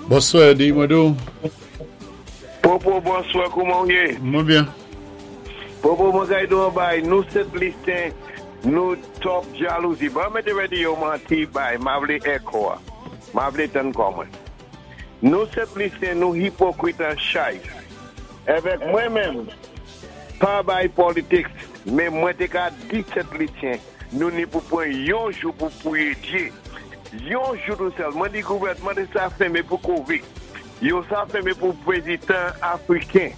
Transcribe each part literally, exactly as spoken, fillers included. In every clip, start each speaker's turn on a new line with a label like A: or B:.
A: Bonswa, di mwen dou.
B: Popo, bonswa, kouman ou yé?
A: Mwen byen.
B: Popo, mwen kay do bay, nou Sent Lisyen, nou twòp jalouzi. Bon, mete radio manti bay, ma vle echo a. Ma vle tann kò mwen. Nou Sent Lisyen, nou ipokrit an chay. Evèk mwen menm, pa bay politics, men mwen te ka di Sent Lisyen, nou ni pou pran yon jou pou pwiyé Dye. Yon jou tou sèl. Mwen di gouvèdman de sa fèmé pou COVID. Yo sa fèmé pou pwezidan Afriken.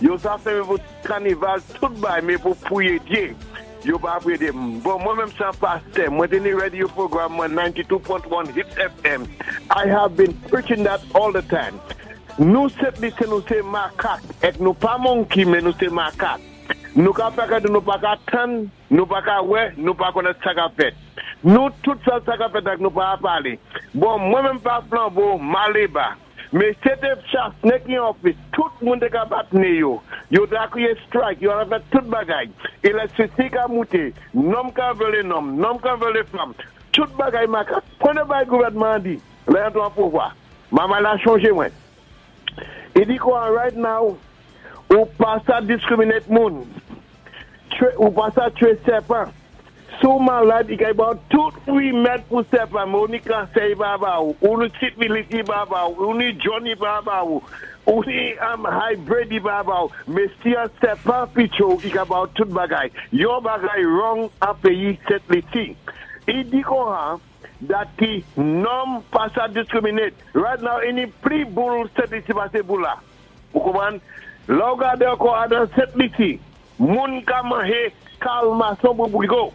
B: Yo sa fèmé pou kanival, tout bay, men pou pwiyé Dye. Yo pa pwiyé Dye. Bon, mwen menm san pastè, mwen te ni radio program mwen ninety-two point one Hits F M. I have been preaching that all the time. Nou Sent Lisyen, nou sé makak, èk nou pa monkey, men nou sé makak. Nou ka fè kade nou pa ka tann, nou pa ka wè, nou pa konèt sa ka fèt. Nou tout sa sa ka fèt ak nou pa pale. Bon, mwen menm pa flanbo, maleba. Men se te Chastanet ki an ofis, tout moun te ka bat né yo. Yo ta kriye strike, yo an fè tout bagay. Elektrisite ka moute, nonm ka vyole nonm, nonm ka vyole fanm. Tout bagay makak. Pwennè bay gouvèdman di, lè yon tou an pouvwa. Mama la chanje mwen. I di kwa right now, ou pa sa discriminate moun. Twe, ou pa sa twe sèpan. Sou malad, i kay ba ou tout remèd pou sèpan, men ou ni kansè i pa ba ou, ou ni sifilis i pa ba ou, ou ni Johnny pa ba ou, ou ni um, high blood i pa ba ou, men si an sèpan picho, i ka ba ou tout bagay. Yon bagay wrong an peyi Sent Lisi. I di kon han, that ki nonm pa sa discriminate. Right now, ini pli boul Sent Lisi pase boul la. Ou konpwann? Lò gade ankò adan Sent Lisi, moun ka manje kalmason pou bougo.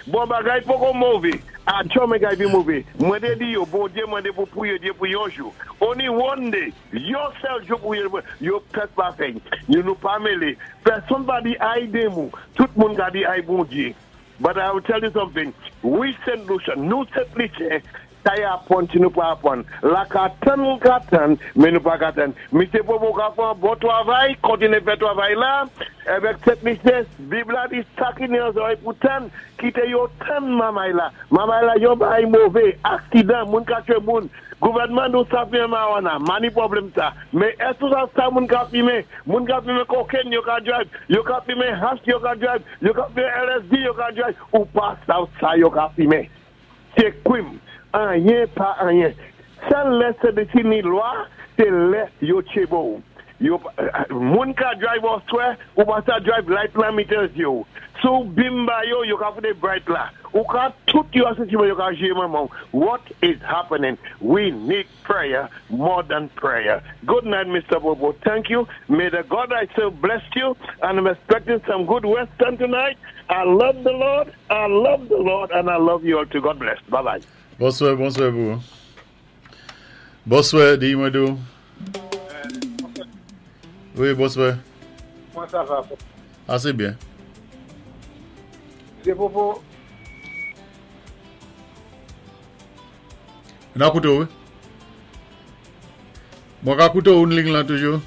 B: Bon bagay poko move. A chome kay vi move. Mwen te di yo, bon Dye mwen de pou pwiyé Dye pou yon jou. Only one day, yon sèl jou pou yo, yo pèt pa fè. Yo nou pa mele. Pèsonn pa di ay demou. Tout moun ka di ay bon Dye. But I will tell you something. We Saint Lucian, nou Sent Lisyen, sa y apwann si nou pa apwann. La ka tann nou ka tann, men nou pa ka tann. Misye Popo ka fè an bon travay, kontinye fè travay la, evèk Sent Lisyen, Bib la di sa ki ni an zòrèy pou tann, kite yo tann mamay la. Mamay la yon bay move, aksidan, moun ka twe moun. Gouvèdman nou sa fimen marijuana, mani pwoblèm sa. Men èske sa sa moun ka fimen? Moun ka fimen koken, yo ka drive. Yo ka fimen hash, yo ka drive. Yo ka fimen L S D, yo ka drive. Ou pa sa sa yo ka fimen. Se kwim. Anyen pa anyen. Sèl lè se defini lwa, se lè yo tchebo. Yo, moun ka drive oswe, ou pa sa drive light la mitan yo. Sou bimba yo, yo ka foute bright la. Ou ka tout yo asosye yo ka jwe maman. What is happening? We need prayer more than prayer. Good night, Mister Bobo. Thank you. May the God I serve bless you. And I'm expecting some good Western tonight. I love the Lord. I love the Lord. And I love you all too. God bless. Bye-bye.
A: Bonswa, bonswa pou. Bonswa, di mwen dou. Wi, bonswa.
C: Comment ça va?
A: Ase byen.
C: Se Popo,
A: Nan kouto, wi. Mwen ka kouto ou liy lan toujou?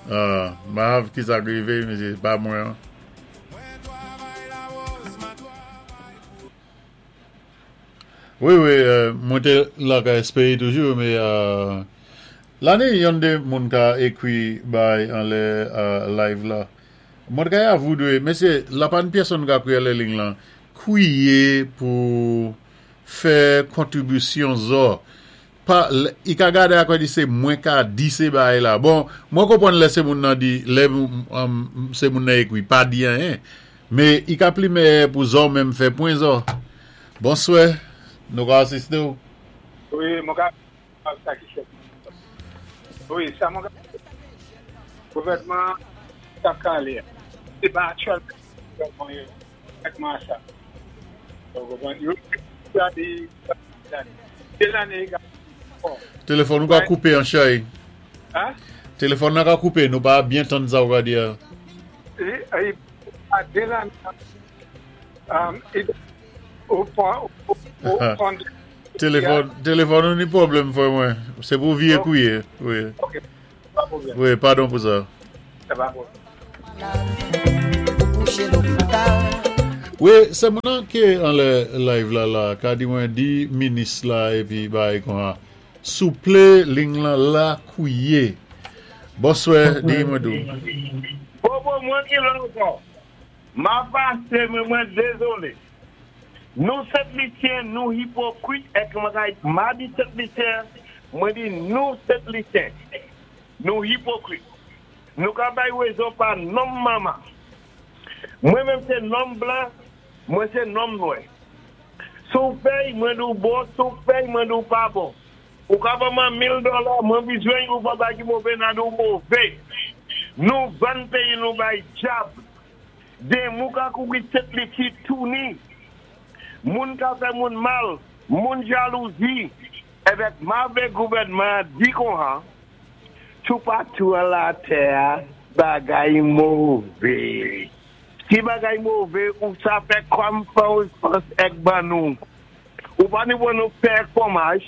A: Ah, ma ki sa rive, mesye, pa mwen. Wi, wi, euh, mwen te la ka espere toujou, men euh, lane yon de moun ka ekwi bay an le euh, live la. Mwen ka ya voudwe, mesye, la pan pèsonn ka kwiye le liy lan, kwiye pou fè kontribisyon zo. Pa, i ka gade akwa di se mwen ka di se bay la. Bon, mwen konpwann lè se moun nan di, lè um, se moun nan ekwi, pa di an, men i ka pli me pou zo menm fè pwen zo. Bonswa, nou ka asiste ou?
C: Wi, mwen ka sa ki fèt. Wi, sa mwen ka gouvèdman sa kale. Se pa aktyèl gouvèdman yo, gouvèdman sa. Donk, yo gade de lane ga. Bon,
A: Telefòn nou ka koupe an chay.
C: Ha?
A: Telefòn nan ka koupe, nou pa byen tann sa ou ka di ya.
C: E, e, a de lane um, e, ou pon, ou, ou pon,
A: Telefòn, telefòn nou ni pwoblèm fwe mwen. Se pou vie kouye. Wi,
C: Ok, pa pwoblèm,
A: wi, padon pou sa.
C: Sa pa pwoblèm.
D: Ou kouche lopital.
A: Wi, sé moun ki anlè live la la, ka di mwen di minis la épi bay kon souplé ling lan la kouwé. Bonswè, di mwen dou.
B: Bon, bon, mwen ki la ankò. Ma pasé, mwen mwen dézolé. Nou Sent Lisyen, nou ipokrit, èk mwen ma di Sent Lisyen, mwen di nou Sent Lisyen, nou ipokrit. Nou ka bay wézon pa nonm manman. Mwen menm sé nonm blan, mwen sé nonm nwè. Sou fèy mwen dou bon, sou fèy mwen dou pa bon. Ou ka ban mwen mil dola, mwen bizwen ou pa bay ki mové nan dou mové. Nou vann péyi nou bay dyab. Den mou ka kouri Sent Lisi touni. Moun ka fè moun mal, moun jalouzi. Évèk ma vlé gouvèdman di kon han, toupatou a latè, bagay mové. Si bagay mové, ou sa fè kòm fè èk ban nou. Ou pa ni pou nou fè fwomaj,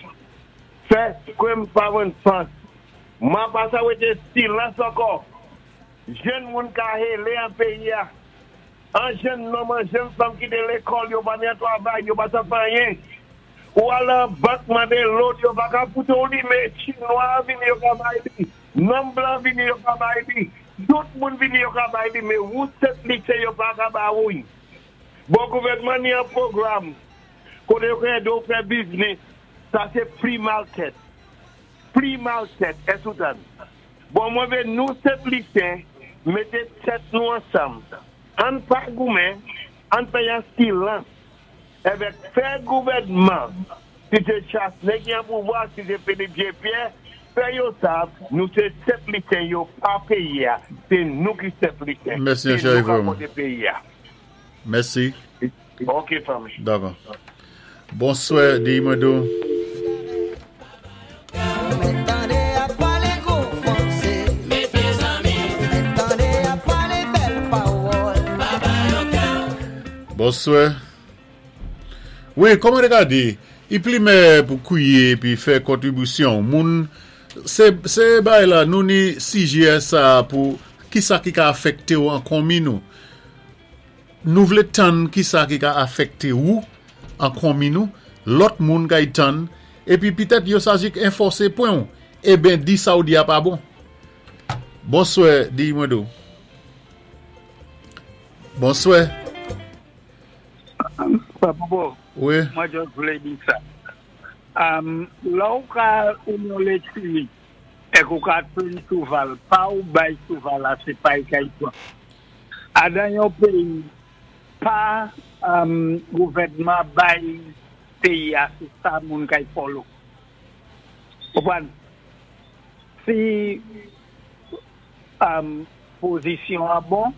B: fè kòm pa fans. Ma pa sa wété silans ankò. Jenn moun ka hélé an péyi a. An jenn nonm, an jenn fanm kité lékòl, yo pa ni an twavay, yo pa sa fè anyen. Ou al an bank mandé loan, yo pa ka foute ou li, mé Chinwa vini yo ka bay li. Nonm blan vini yo ka bay li. Tout moun vini yo ka bay li, mé ou Sent Lisyen yo pa ka ba ou. Bon gouvèdman ni an pwogram, koté yo ka édé ou fè biznis, sa sé pli mal tèt. Pli mal tèt, esoutan. Bon mwen vlé nou Sent Lisyen, mété tèt nou ansanm. Ann pa goumen, ann fè yon silans. Évèk fè gouvèdman, si sé Chastanet ki an pouvwa, si sé Philippe J. Pierre, fè yo sav, nou sé Sent Lisyen yo pa péyi a, sé nou ki Sent Lisyen.
A: Mèsi,
B: Sé nou
A: chè
B: ka poté péyi a.
A: Mèsi.
B: Ok, fanmi.
A: Dakò. Bonswè, di mwen dou.
D: Tandé ap palé gwo fransé. Tandé ap palé bèl pawòl.
A: Bonswè. Wi, kòman ka di, i pli mé pou kwié pi fè kontribisyon. Moun, sé, sé bay la, nou ni sijè sa pou ki sa ki ka afèkté ou an konmi nou. Nou vlé tann ki sa ki ka afèkté ou an konmi nou, lòt moun ka y tann, épi pitèt yo sa jis anfòsé pwen ou. Eben di sa ou di a pa bon. Bonswè, di mwen dou. Bonswè.
C: Papa,
A: Wi.
C: mwen jis vlé di sa. Um, la ou ka ou nan létri, èk ou ka train chouval, pa ou bay chouval la, sé pa y kay pran. Adan yon péyi, pa um, gouvèdman bay péyi a, sé sa moun kay follow. Konpwann? Si um, pozisyon a bon,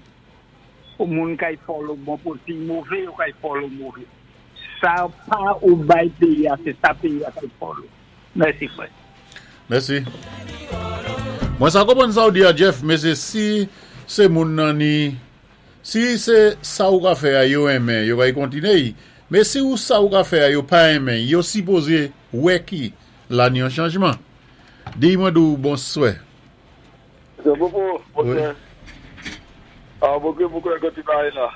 C: ou moun kay follow bon, pou si mové, ou kay follow mové. Sa pa ou bay péyi a, sé sa péyi a kay follow. Mèsi, frè.
A: Mèsi. Mwen sa konpwann sa ou di a Jeff, mé sé si sé moun nan ni si sé sa ou ka fè a yo renmen, yo va y kontiné y. Mé si ou sa ou ka fè a yo pa renmen, yo sipozé wè ki la ni yon chanjman. Di mwen dou bonswè.
E: Bon, bon, bonswè. Ah, bon, mwen kwè ke ti bagay la.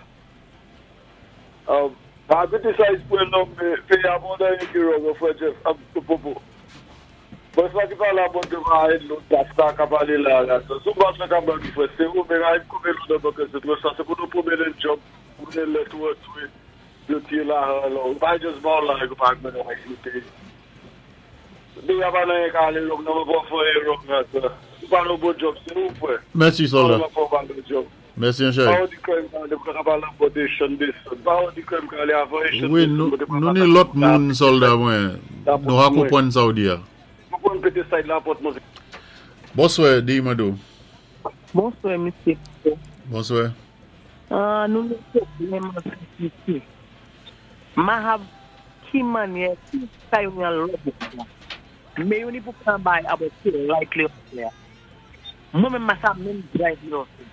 E: Ah, pa criticize pou nonm, mé péyi a bon dan ki wrong, frè Jeff, ah, Popo. Bon, sa ki pa la bon devan lòt pastè ka palé la, la. Sou bas la ka ban frè, sé ou, mé la, koupe lò nan bank, sé twò sa, sé pou nou pwonméné job, pou nou lè tou tou, yo tiré la, lò, pa just bon la, yo pa mèn an Mé ya pa nan yon ka alé wrong, nan mwen pa fè wrong, la, sa. Ou pa nan bon job, sé ou, frè.
A: Mèsi, solda.
E: Pa nan bon job.
A: Mèsi, chè.
E: Pa ou di kwè m ka ka pale an bò de chan de son. Pa ou di kwè m ka ale avan e chan
A: Wi,
E: de son.
A: nou,
E: Mwen te pa
A: nou
E: pa
A: ni lòt moun solda mwen. Nou a
E: mwen.
A: konpwann sa ou di a.
E: Mwen pon pété side la pot mwen.
A: Bonswè, di mwen dou.
F: Bonswè, misye.
A: Bonswè.
F: Ah, nou nou pwoblèm isi. Ma hav ki manyè, ki sa yon yon lòt la. Mé yo ni pou pran bay about ki like li la. Mwen menm ma sa menm drive li osi.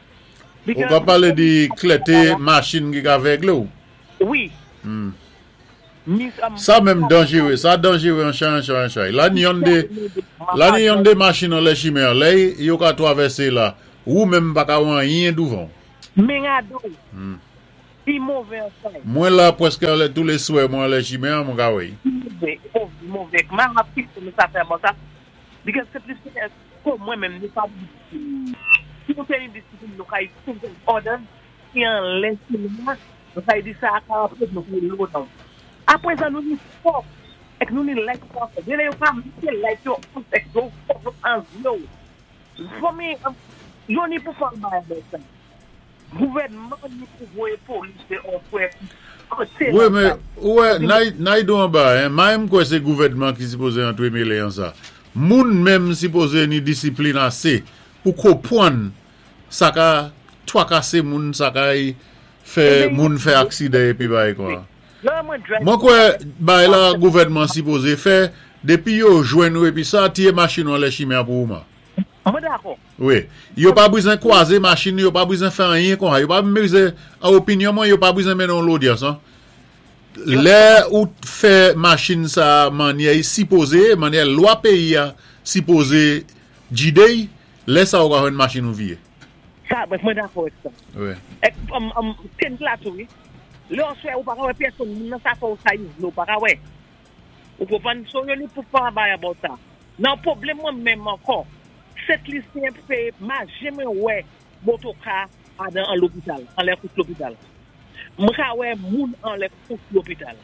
A: Ou ka palé di klèté machin ki ka vèglé ou?
F: Wi.
A: Hmm.
F: Mis, um,
A: Sa menm danjéwé, sa danjéwé an chay, an chay, an chay. La ni yon de, la ni yon de machin an lè chimè, lè yo ka twavèsé la, ou menm pa ka wè anyen douvan.
F: Men ado,
A: Hmm.
F: I mové an sa.
A: Mwen la pwèské anlè tou lé swè mwen anlè chimen an mwen ka wè.
F: Mové, mové. Ma ap ki pou mwen sa fè bon sa. Because se plis ke mwen menm nou pa disiplin. Si nou te yon disiplin, nou ka yi order ki anlè chimen, nou ka yi di sa a apre nou ka yi load down. Apwé sa nou ni fòk, ek nou ni light off. Dé lè yo ka mete light yo on, ek yo fòk an zyo. For me, yo ni pou fè bay about sa. Gouvèdman ni pou voyé polis de an fwè koté.
A: Wè, mé, wè, nay do an ba, mwen m kwè sé gouvèdman ki sipozé antwé mélé an sa. Moun menm sipozé ni disiplin asé pou konpwann sa ka twakasé moun, sa ka fè moun fè aksidan épi bay kwa. Mwen kwè bay la gouvèdman sipozé fè, dépi yo jwenn ou épi sa, tiyé machin ou anlè chimen pou ou man.
F: Mwen dakò.
A: Wè, yo pa bizwen kwazé machin, yo pa bizwen fè anyen kon ha, yo pa bizwen, an opinyon mwen, yo pa bizwen mennen lodyans, an. Lè ou fè machin sa manyè sipozé, manyè lwa péyi a sipozé jidéy, lè sa ou ka jwenn machin ou viyé.
F: Sa, mwen dakò ek sa.
A: Wè.
F: Ek, um, ten la tou, lè an swè ou pa ka wè pèsonn, moun nan sa fè ou sa yi, ou pa ka wè. Ou konpwann, so yo ni pou fè bay about sa. Nan pwoblèm mwen menm ankò, Sent Lisyen fè, ma jeme wè motoka adan an lopital, an lè kous lopital. Mwen ka wè moun an lè kous lopital.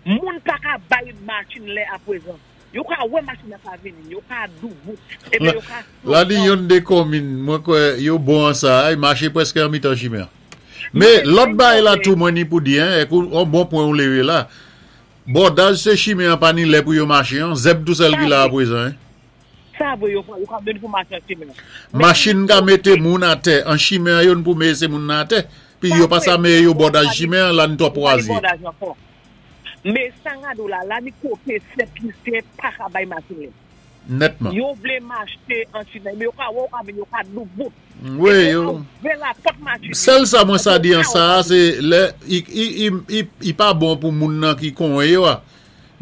F: Moun pa ka bay machin lè apwezan. Yo ka wè machin a ka vini, yo ka doubou, ebe yo ka.
A: La di yon de komin, mwen kwè yo bon an sa, ay maché pwèské an mitan chimen. Mé lòt bay la tou mwen ni pou di, ek ou bon pwen ou lévé la, bòdaj sé chimen an pa ni lè pou yo maché an, zèb tou sèl ki la apwezan.
F: Sa vwe yo ka meni pou maché an chimen.
A: Machin ka mété moun atè, an chimen yon pou mété moun atè, pi yo pa sa mé yo bòdaj chimen an, la ni to pwazi.
F: Mé san gado la, la ni koté Sent Lisyen pa ka bay machin lè.
A: Nètman.
F: Yo vlé maché an chimen, mé yo ka wè, yo ka doubout.
A: Wè, yo. Sèl sa mwen sa di an sa, sé lè, i pa bon pou moun nan ki konwen yo a.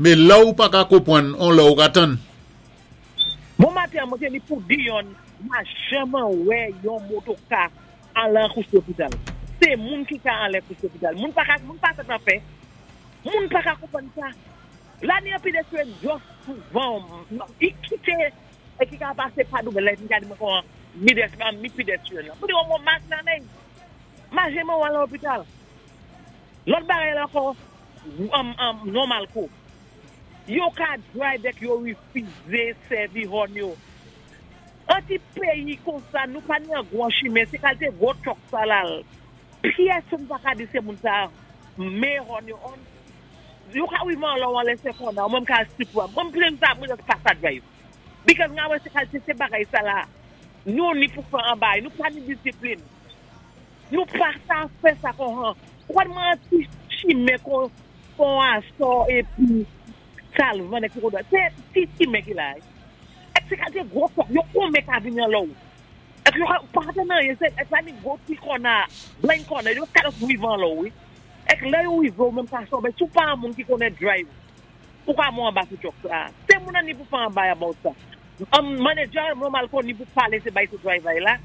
A: Mé la ou pa ka konpwann, on lè ou ka tann.
F: Bon maten, mwen te ni pou di yon, ma jaman wè yon motoka an lan kous lopital. Se moun ki ka an lè kous lopital. Moun pa ka, moun pa sa tan fè. Moun pa ka konpwann sa. La ni an pedestrian just souvan, i kite, e ki ka pase pa dou, lè, mi ka di mwen kon, mi des, mi pedestrian. Mwen di yon moun mak nan men. Ma jaman wè an lopital. Lòt bagay la ankò, normal kou. Yo ka drive dèk yo wifizé sèvi hòn yo. An ti péyi kon sa, nou pa ni an gwan chimen, sé kalité gwo truck sa lal. Pyès moun pa ka di sé moun sa, mé hòn yo on. Yo ka wivan lò wan lè kon nan, mwen ka sipwa. Mwen plen sa, mwen just pa sa drive. Because nga wè sé kalité sé bagay sa la, nou ni pou fè an bay, nou pa ni disiplin. Nou pa sa fè sa kon han. Kwa mwen ti chimen kon, kon aso epi salvan ek kon se ti chimen ki la. Ek se kalite gwo truck, yo kon mek a vini an lò. Ek yo pa te nan, ek sa ni gwo ti kona, blind corner, yo ka los wivan lò, oui. Ek lè yo wivan, mwen pa so, ben sou pa an moun ki konnen drive, pou ka moun an ba sou truck sa. Se moun an ni pou fè an bay about sa. An manager, mwen mal kon ni pou pale se bay sou driver la,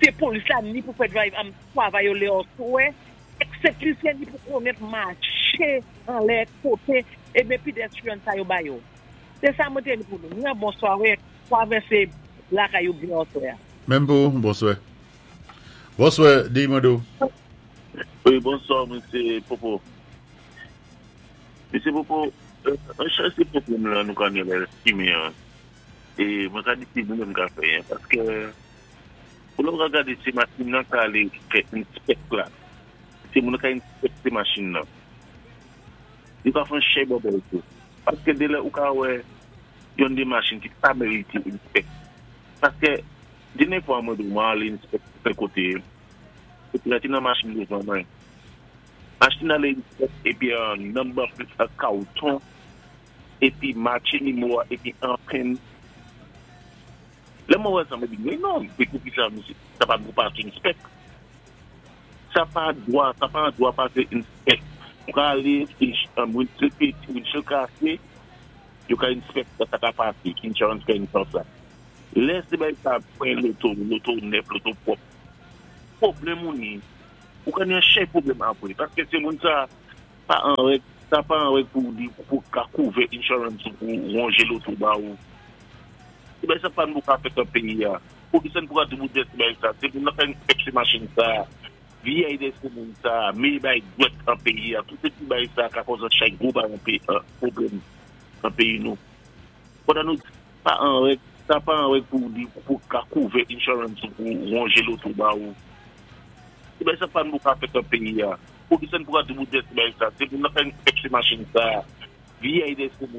F: se polis la ni pou fè drive, am travay yo le oswe, ek se klisyen ni pou konnen maché an lè koté, e ben pedestrian sa yo bay yo. Se sa mwen te ni pou nou. Mwen bonswa, wè, travèsé lakay yo byen oswe.
A: Menm pou, bonswa. Bonswa, di mwen do.
G: Wi, bonswa, Mesye Popo. Mesye Popo, an chan se pwoblèm la nou kan yon lè chimen an. E mwen ka di si nou mwen ka fè, paske pou lò mwen gade se machin nan ka ale fè inspect la. Se mwen ka inspect se machin nan. Di ka fè chè bobè tou. Paske de lè ou ka wè yon de machin ki pa merite inspect. Paske dènyé fwa mwen dou mwen ale inspect fè kote, epi la ti nan machin devan mwen. Machin ale inspect epi an number plate a kauton, epi machin ni mwa, epi an pen. Lè mwen wè sa mwen di, mwen non, pe kou ki sa, sa pa dwa pase inspect. Sa pa dwa, sa pa dwa pase inspect. Mwen ka ale, mwen se peti, mwen se kase, yo ka inspect sa ka pase, ki insurance ka inspect sa. Lè se bay sa pwen loto, loto nèf, loto pwòp. Pwoblèm moun ni, Ou ka ni an chay pwoblèm apwé. Paské sé moun sa pa an règ, sa pa an règ pou di pou ka kouvè insurance pou wonjé loto ba ou. É ben sa pa nou ka fèt an péyi ya. Pou ki sa nou pou ka débouté sé bay sa. Sé moun nan fè inspeksyon machin sa, V I de sé moun sa, mé bay dwèt an péyi ya. Tout ti bay sa ka kòz an chay gwo bay an péyi, pwoblèm an péyi nou. Pandan nou pa an règ, sa pa an règ pou di pou ka kouvè insurance pou wonjé loto ba ou. É ben sa pa nou ka fèt an péyi ya. Pou ki sa nou pou ka débouté sé bay sa. Sé moun nan fè inspeksyon machin sa, V I de sé moun